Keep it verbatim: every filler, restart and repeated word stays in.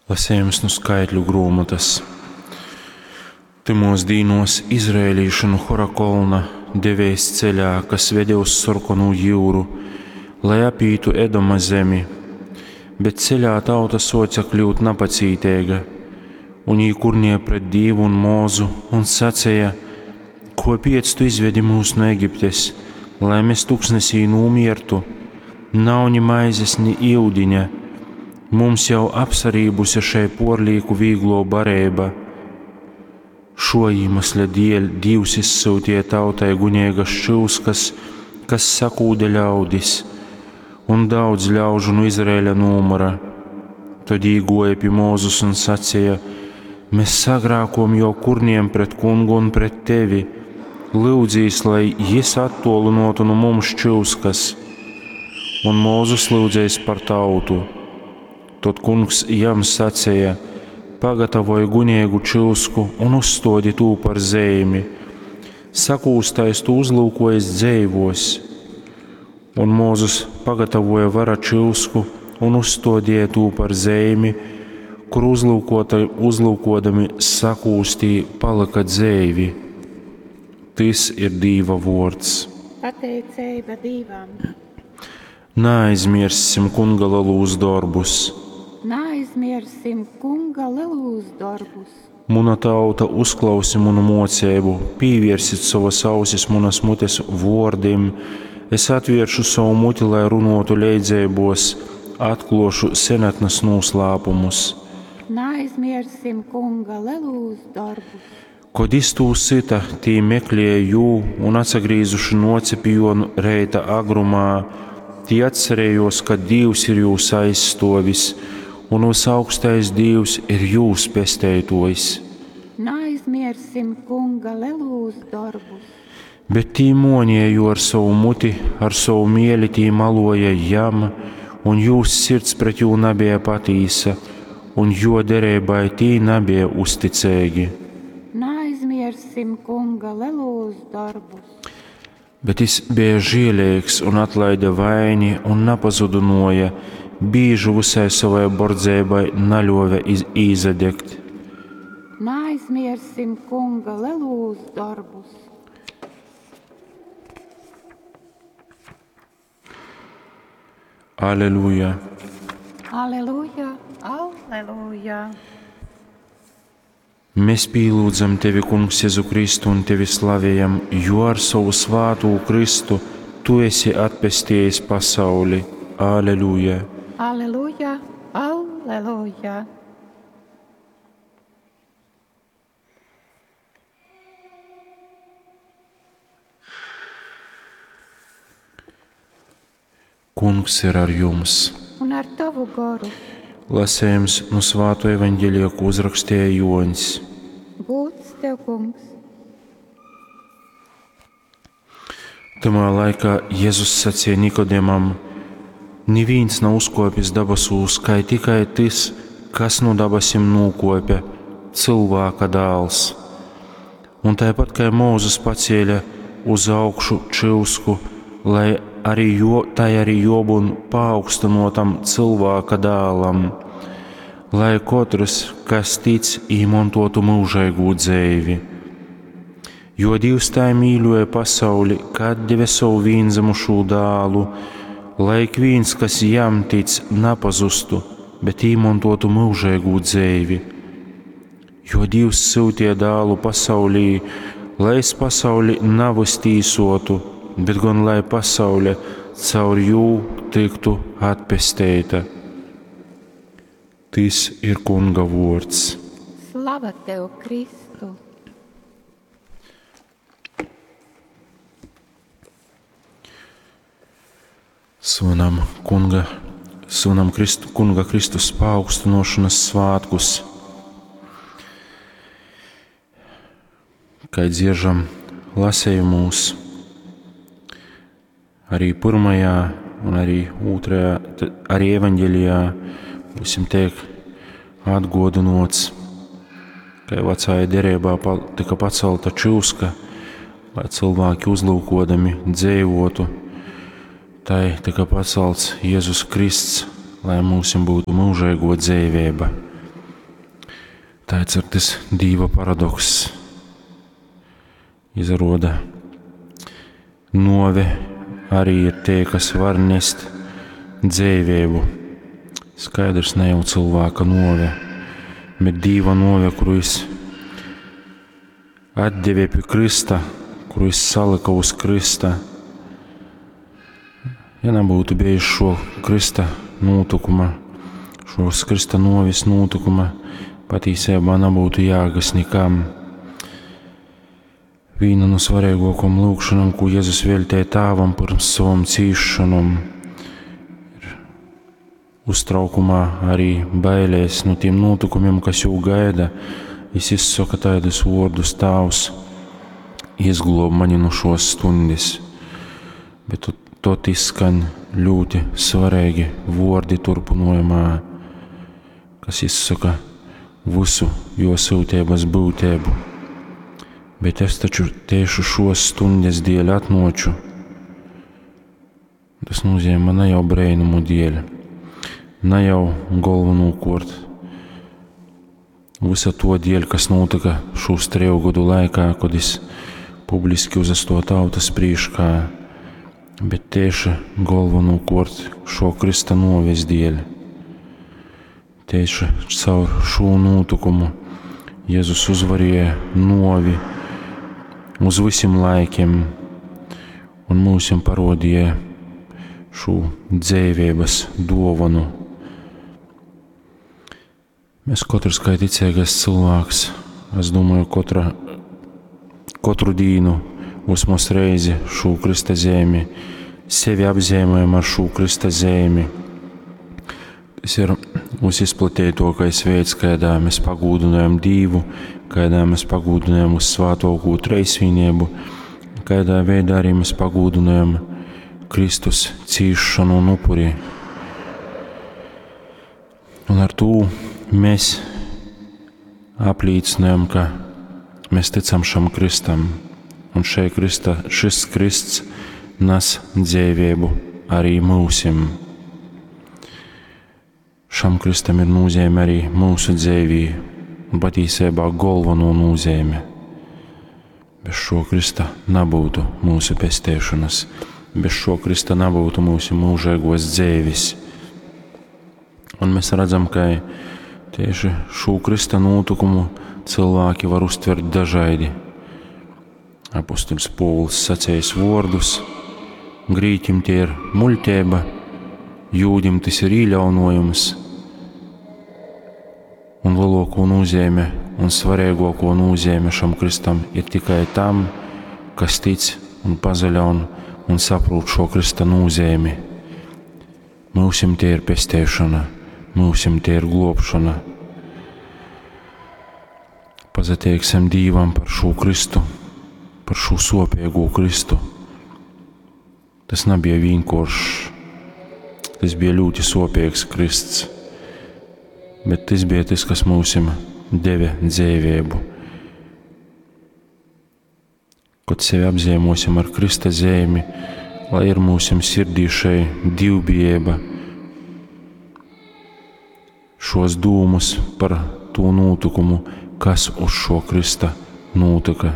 Lasējums nu skaitļu gruomotas. Tymos dīnuos izraēlīši nu Hora kolna devēs ceļā, kas vede uz Sorkonū jyuru, lai apītu Edoma zemi. Bet ceļā tauta suoce kļūt napacīteiga, un jī kurnēja pret Dīvu un Mūzu un saceja: Kuopiec tu izvedi mūs no Egiptes, lai mēs tuksnesī nūmiertu? Nav ni maizes, ni iudiņa. Mums jau apsarībuse šei puorlīku vīglo bareiba. Šo iemesla dēļ Dievs izsūtīja tautai gunīgas čyuskas, kas sakūda ļaudis, un daudz ļaužu no Izraēļa nūmura. Tad īgoja pie Mūzus un sacīja: Mēs sagrākojam jo kurniem pret kungu un pret tevi. Lūdzīs, lai jis attolinotu no mums čyuskas. Un Mūzus lūdzēs par tautu. Tad kungs jam sacīja: Pagatavoj gunīgu čyusku un uzstodi tū par zeimi. Sakūstais tu uzlūkojas dzeivos. Un Mūzus pagatavoja vara čyusku un uzstodīja tū par zeimi, kur uzlūkota, uzlūkodami sakūstī palika dzeivi. Tys ir Dīva vuords. Pateiceiba Dīvam. Naaizmirssim kunga lelūs dorbus. Naaizmiersim kunga lelūs dorbus. Muna tauta, uzklausi munu mocību, pievērsit savas ausis munas mutes vōrdim. Es atvēršu savu muti, lai runotu leidzeibos, atklošu senatnes noslēpumus. Naaizmiersim kunga lelūs dorbus. Kod iz tū syta, tī meklēja jū un atsagrīzuši noce pi juo reita agrumā, tī atcerējos, ka Dīvs ir jūs aizstovis un visaugstais Dīvs ir jūs pesteitojs. Naaizmiersim kunga lelūs dorbus. Bet tī monīja jū ar savu muti, ar savu mieli tī maloja jam, un jūs sirds pret jū nebija patīsa, un jo derībai tī nebija uzticīgi. Naaizmiersim kunga lelūs darbus. Bet jis bija žielīgs un atlaida vaini un napazudunoja, bīžu visai savai bordzeibai naļuove iz, īzadegt. Naaizmiersim kunga lelūs darbus. Aleluja! Aleluja, aleluja! Mēs pīlūdzam tevi, Kungs, Jēzu Kristu, un tevi slavējam, jo ar savu svātū Kristu tu esi atpestījis pasauli. Aleluja! Aleluja, aleluja! Kungs ir ar jums! Un ar tavu goru. Lasējums no Svāto evaņģēlija, ko uzrakstīja Joņs. Gūts tev, kungs! Tamā laikā Jēzus sacīja Nikodemam: Neviens nav uzkopis dabasūs, kai tikai tas, kas no dabasim nūkopja, cilvēka dēls. Un tāpat kā Mūzes pacēla uz augšu čyusku, lai arī jo, tai arī jobun paaugstinotam cilvēka dēlam, lai katrs, kas tic, īmontotu mūžīgu dzeivi. Jo Dievs tā mīļoja pasauli, kad deva savu vienzimušo dēlu, lai ik viens, kas jam tic, nepazustu, bet īmontotu mūžīgu dzeivi. Jo Dievs sūtīja dēlu pasaulī, lai es pasauli navas tīsotu, bet gan lai pasaule caur jū tiktu atpesteita. Tis ir Kunga vords. Slava tev, Kristu! Svinam Kunga, svinam Kristu, Kunga Kristus paaugstinošanas svētkus. Kai dzieržam lasējumūs, arī pirmajā un arī otrajā, arī evaņģēlijā, būsim tiek atgodinots, ka vecajā derībā tika pacelta čūska, lai cilvēki uzlūkodami dzīvotu. Tai tika pacelts Jēzus Kristus, lai mūsim būtu mūžīgo dzīvība. Taids ir tys Dīva paradokss. Izaruoda, nuove arī ir tei, kas var nest dzeiveibu. Skaidrs, ne jau cilvēka nuove, bet Dīva nuove, kuru jis atdeve pie krysta, kuru jis salika uz krysta. Ja nebūtu bijis šo krysta nūtikuma, šos krysta nuoves nūtikuma, patīsībā nebūtu jēgas nekam. Viena no svarīgākajām lūgšanām, ko Jēzus veltīja Tēvam pirms savam cīšanām, ir uztraukumā, arī bailēs no tiem notikumiem, kas jau gaida. Jis izsaka tādus vārdus: Tēvs, izglob mani no šos stundes. Bet tot izskan ļoti svarīgi vārdi turpinājumā, kas izsaka visu jo sūtības būtību. Bet es taču tieši šos stundes dēļ atnoču. Tas nozīmē ne jau brēnumu dēļ, ne jau galvenokārt visa to dēļ, kas notika šos treju gadu laikā, kad es publiski uzasto tautas priekšā, bet tieši galvenokārt šo Krista noves dēļ. Tieši caur šo notikumu Jēzus uzvarēja novi uz visiem laikiem un mūsim parodīja šo dzīvības dāvanu. Mēs katrs kā ticīgais cilvēks, es domāju, katra, katru dienu vismaz reizi šo Krista zemi, sevi apzīmējam ar šo Krista zemi. Tas ir visizplatītākais veids, kādā mēs pagūdinājam Dievu, kādā mēs pagūdinājam uz svētoko treisvienību, kādā veidā arī mēs pagūdinājam Kristus cīšanu un upuri. Un ar to mēs apliecinājam, ka mēs ticam šam Kristam, un šai Krista, šis Krists nes dzīvību arī mūsim. Šam Kristam ir nozīme arī mūsu dzīvī, un patiesībā galveno nozīme. Bez šo Krista nebūtu mūsu pestēšanas, bez šo Krista nebūtu mūsu mūžīgos dzīves. Un mēs redzam, ka tieši šo Krista notikumu cilvēki var uztvert dažādi. Apostuļs Pōvils sacējis vārdus, grīķim tie ir muļķība, jūdim tas ir īļaunojums, un lielāko nozīme un svarīgāko nozīme šam Kristam ir tikai tam, kas tic un pazaļaun un saprot šo Krista nozīmi. Mūsim tie ir pestēšana, mūsim tie ir globšana. Pazateiksim Dīvam par šo Kristu, par šo sopīgo Kristu. Tas nebija vienkāršs, tas bija ļoti sopīgs Krists, bet tas bija tas, kas mūsim deva dzīvību. Kad sevi apzīmosim ar Krista zīmi, lai ir mūsim sirdī šai divbijība, šos dūmus par to notikumu, kas uz šo Krista notika,